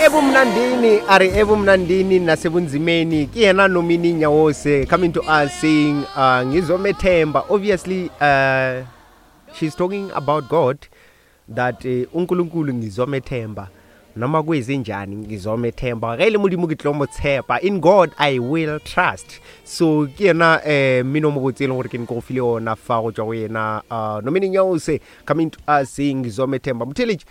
Ebumnandini a re ebumnandini nasebunzimeni ke yena Nomini Nyawose coming to us saying ngizomethemba. Obviously she's talking about God, that uNkulunkulu ngizomethemba noma kwezenjani, ngizomethemba ge le Modimo ke tlo mo tshepa. In God I will trust. So ke yena mmino mo botse e leng gore ke ne ke go file ona fa go tswa go yena Nomini Nyawose coming to us saying ngizomethemba. Motheletši,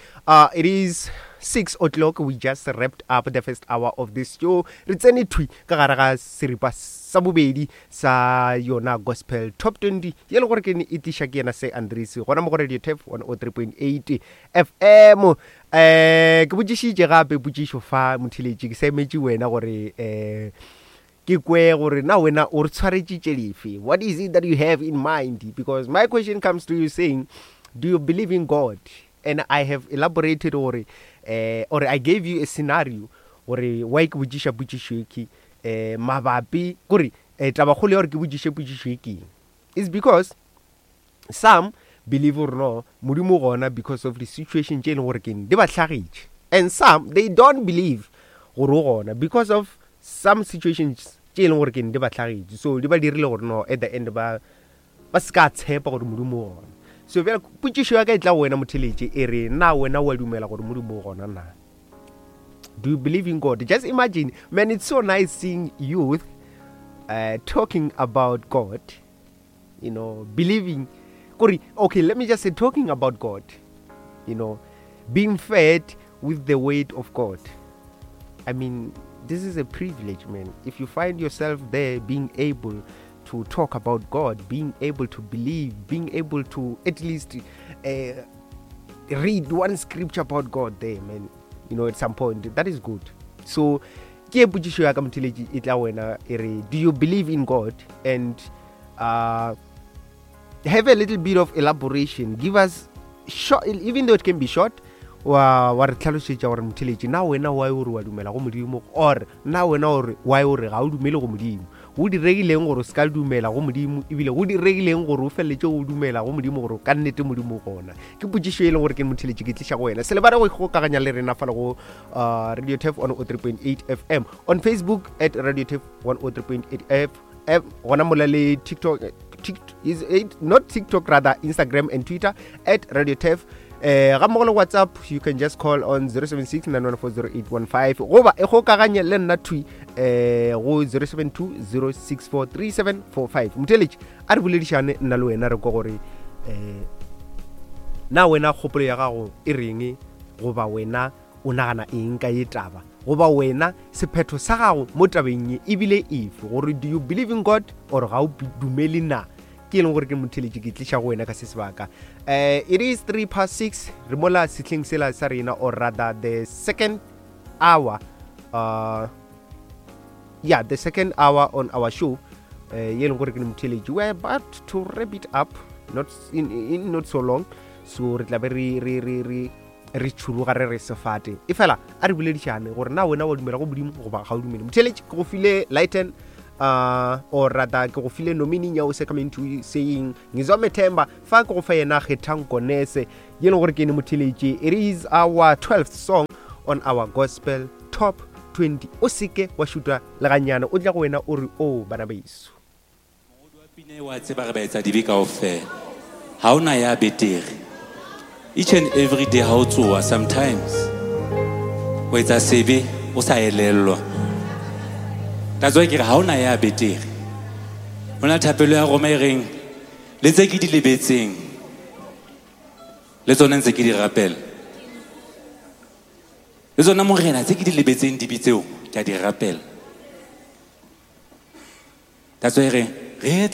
it is 6 o'clock. We just wrapped up the first hour of this show. Re tsene thwi ka gare ga seripa sa bobedi sa yona Gospel Top 20 ye le gore ke ne e tliša ke yena Se Andries gona mo go Radio Tef 103.8 FM. Ke botšišitše gape potšišo fa, motheletši, ke sa emetše wena gore ke kwe gore na wena o re tshwaretše lefe. What is it that you have in mind? Because my question comes to you saying, do you believe in God? And I have elaborated gore or I gave you a scenario gore why ke botšiša potšišo e ke mabapi kore tabakgolo ya gore ke botšiše potšišo e keng is because some believe gore no, Modimo gona because of the situation tše e leng gore keng di ba hlagetše, and some they don't believe gore o gona because of some situations tše e leng gore keng di ba hlagetše, so di ba dirile gore no, at the end ba se ka tshepa gore Modimo o gona. So bjale potšišo ya ka e tla go wena, motheletše, e re na wena wa dumela gore Modimo o gona na? Do you believe in God? Just imagine, man, it's so nice seeing youth talking about God, believing. Kore, okay, let me just say talking about God, being fed with the word of God. I mean, this is a privilege, man. If you find yourself there being able to talk about God, being able to believe, being able to at least read one scripture about God there, man, at some point, that is good. So, ke e potšišo ya ka, motheletši, e tla wena e re, do you believe in God? And have a little bit of elaboration. Give us short, even though it can be short, wa re tlhalosetša gore, motheletši, na wena why o re wa dumela go Modimo, or na wena ore why o re ga o dumele go Modimo? Go diregileng gore o se ka dumela go Modimo, ebile go diregileng gore o feleletše go dumela go Modimo, gore ka nnete Modimo gona? Ke potšišo e leng gore ke, motheletši, ke tliša go wena. Se lebale go ikgokaganya le rena fale go Radio Tef 103.8 FM, on Facebook at Radio Tef 103.8 FM, gona mola le TikTok, is it not TikTok, rather Instagram and Twitter at Radio Tef, ga mmogo le WhatsApp. You can just call on 076 9140815, goba e kgokaganye le nna thwi go 072 064 3745. Motheletši, a re boledišane nna le wena, re kwa gore na wena kgopolo ya gago e reng, goba wena o nagana eng ka ye taba, goba wena sephetho sa gago mo tabeng ye ebile efe, gore do you believe in God or ga o dumele na? Ke e leng gore ke, motheletši, ke tliša go wena ka se sebaka. It is 3 past 6. Re mola sehleng sela sa rena, or rather the second hour, yeah, the second hour on our show ye leng gore ke, motheletši, we are about to wrap it up not in not so long. So re tla be re tšhuruga re re sefate e fela. A re boledišane gore na wena wa dumela go Modimo goba ga o dumele. Motheletši, ke go file lighten, or rather ke go file Nomini Nyawose coming to saying ngizomethemba. Fa ke go fa yena Kgethang Konese ye leng gore ke ene, motheletši, it is our 12th song on our Gospel Top 20. O seke wa šuta le ganyane, o tla go wena o re o bana beso. Mongodi wa pina wa tseba re ba etsa dibe kaofela, ha ona ya betere. Each and every day ha o tsoa, sometimes o etsa sebe o sa elellwa. That's why ke re ha ona ya betere. Ho na thapelo ya Roma e reng le tse ke di lebetseng le tsone ntse ke di rapela le tsona, Morena, tse ke di lebetseng, dibe tseo ke a di rapela. That's why re re